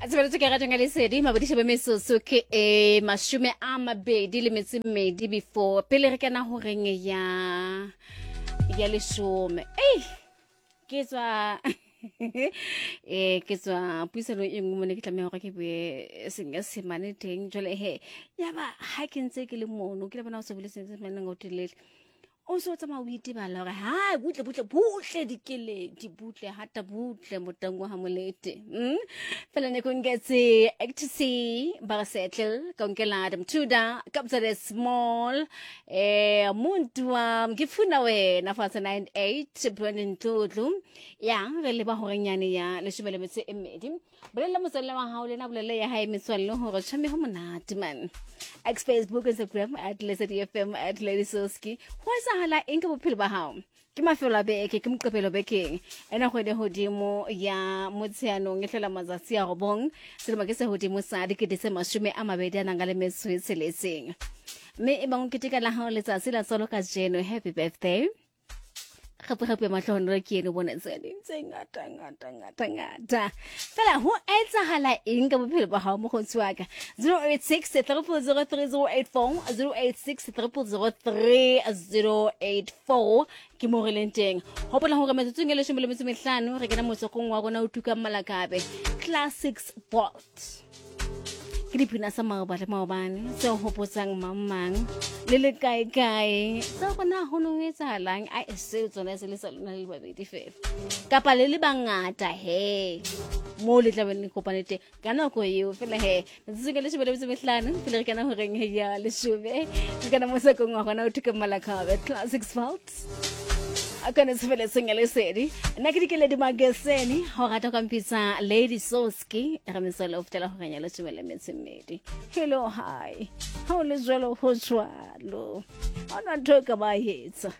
Tshebeletso ke ratong ya lesedi mabodiša ba metsotso ke e 22 before pele re kena horeng ya leshome. Ei, ke tswa ke tswa puisanong e nngwe mone ke tlameha gore ke bue Senyesemane teng. Jwale he yaba ha ke ntse ke le mono, ke le bona o se bole Senyesemane o telele, o se o tsamaya o itebala gore hai, butle butle butle, dikeledi butle, hata butle motang wa molete. Fela ne kongetse ecstasy ba re settle ka nkela Adam Tudor Kabza De Small, muntu wa ngifuna wena fa 98 Brandon Tlotlo ya re leba horenyane ya 12. Bolella motswalle wa hao lena, bolelle ya hae metswalle hore tjhame ho monate man. X, Facebook, Instagram @LesediFM, @LadySoski. Ho etsahala eng ka bophelo ba hao? Ke mafelo a beke, ke Moqebelo bekeng ena, kgwedi hodimo ya Motsheanong e hlola matsatsi a 9, selemo ke se hodimo sa 2026. Mme e bang o keteka la hao letsatsi la tswalo kajeno, happy birthday, gape gape matlhogonolo ke ene o bona tse ding tse ngata ngata ngata ngata. Fela ho etsahala eng ka bophelo ba gago, mokgotsi wa ka? 086 0003084, 086 0003084 ke mo re leng teng. Gopola gore metsotsong e 15 re kena motsokong wa rona o tukang malakabe, Classics Vault. Ke dipina sa maoba le maobane tse hopotsang mang mang le le kae kae tsa gona go no etsahalang. A seo tsona se le sa lona le le babedi fela kapa le le bangata he mo le tlabeng le kopane teng ka nako eo fela. He, metsotso ka 15 pele re kana goreng ya leshome, re kana mo sakong wa gona o thuka malakabe, Classics Vault, a kone tshebeletshong ya Lesedi. Nna ke Dikeledi Mageseni, go rata kwa mpitsa Lady Soski. Re metswele o fitela goreng ya 12. Hello, hi, ga o le jalo, go jwalo, ga ona ntho e ka ba etsa.